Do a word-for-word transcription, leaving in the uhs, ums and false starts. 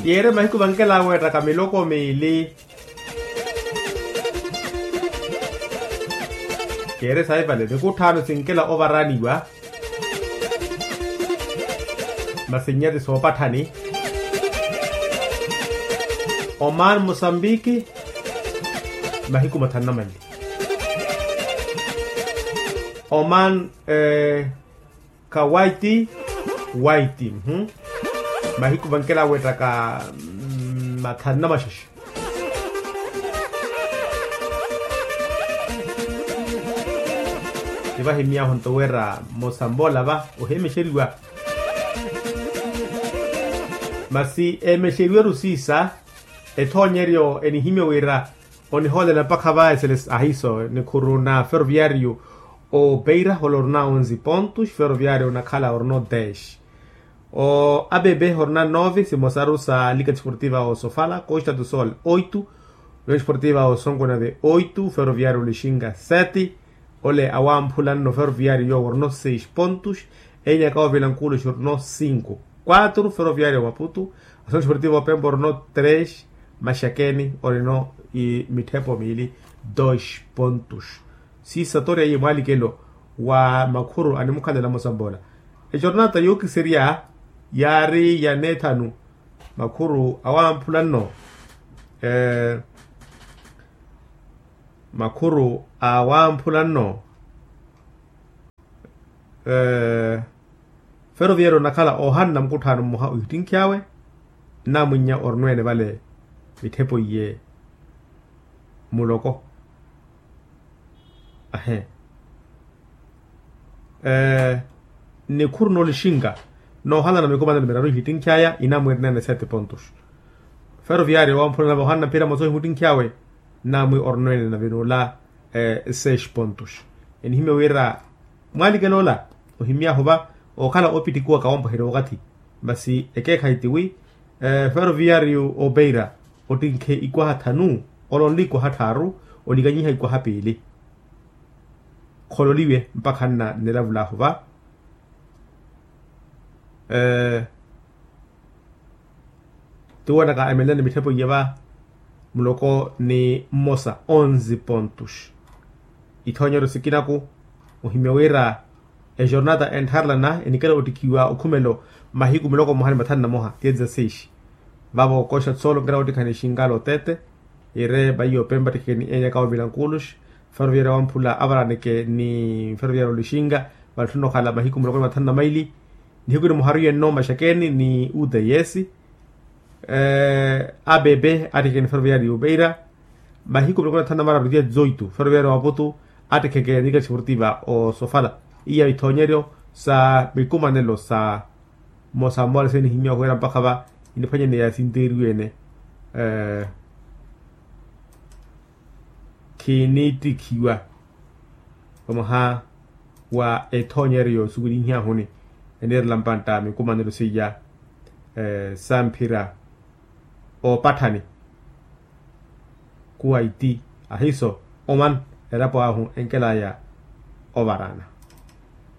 Yeere mahiku vankela weettaka miloko miili. Keere sayi vale nikutthano sinkela ovaraniwa. Masi nnyati soopatthani. Oman mosambiki. Mahiku mathanu na manli. Oman. Kawaiti. Waiti. Mahiku vankela weettaka mathanu na maxexe. Nivahimyahu nto wira mosamboola va ohemexeriwa. Masi emexeriweru siisa ethoonyeryo enihimya wira onihoolela mpakha va eseles ahiiso nikhuru na ferroviario. Opeira holo orina onzi pontos ferroviario onakhala orina odesh. O abebe orina nove simosaru sa liga desportiva osofala costa do sol oitu. Liga desportiva osonkonave oitu ferroviario lixinga sete. Ole awamphula nno ferroviario yowo orina seis pontos. Enyaka ovila nkuluxi orina cinco. Quatro ferroviario maputu. Asono desportiva opempa orina tres. Maxakeni orina mitthepo miili. Dos pontos. Siisa toriya iye mwaalikelo wa makhuru animukhalela mosamboola. Ejornata yookiserya yaari ya neethanu. Makhuru awamphula nno. Makhuru awamphula nno. Ferroviario onakhala ohanna mukutthano mmoha ohittinkhyawe. Nnamwinnya orina ene vale mitthepo iye. Muloko. Ahe. Nikhuru noolixinka noohalana mikumanelo miraru ihittinkhaya inamwi erina ene sete pontos. Ferroviario wamphula nave ohanna mphira moso ohimuttinkhyawe. Nnamwi orina ene nave noola seis pontos. Enihimya wira mwaalikelo ola ohimyahu va okhala opittikiwa kawompweheriwa okathi. Masi ekeekhayi tiwi ferroviario opeira ottinkhe ikwaha thanu. Olonle ikwaha tthaaru. Olikanyiha ikwaha piili. Khololiwe mpakha nna nnelavulaahu va. Tiwonaka emelene mitthepo iya va muloko ni mmosa onze pontos. Ithoonyeryo sikinaku ohimya wira ejornata enttharelana enikela ottikhiwa okhumelo mahiku miloko mmoha ni mathanu na moha tiye dezaseishi. Vavo koxa tsolo nkela ottikhani xinkala otete. Ire vaiyo pempa ttikheni enyaka ovila nkulux. Ferroviario wamphula avaraneke ni ferroviario lixinka. Vantthu nnokhala mahiku miloko ni mathanu na maili. Nihiku ni muharu yenno maxakeni ni uts. Abebe attikheni ferroviario yupeira. Mahiku miloko ni mathanu na mararu tiye dzoitu ferroviario wa maputu. Attikheke ni liga desportiva osofala. Iya ithoonyeryo sa mikumanelo sa mmosa mmosa senihimya ohuwera mpakha va iniphwanyaneya sinteeriwe ene. Khiniittikhiwa vamoha wa ethoonyeryo suwilihiahuni. Eniirela mpantta mikumanelo seiya samphira oopatthani kuwaiti ahiiso oman elapo ahu enkelaya ovarana.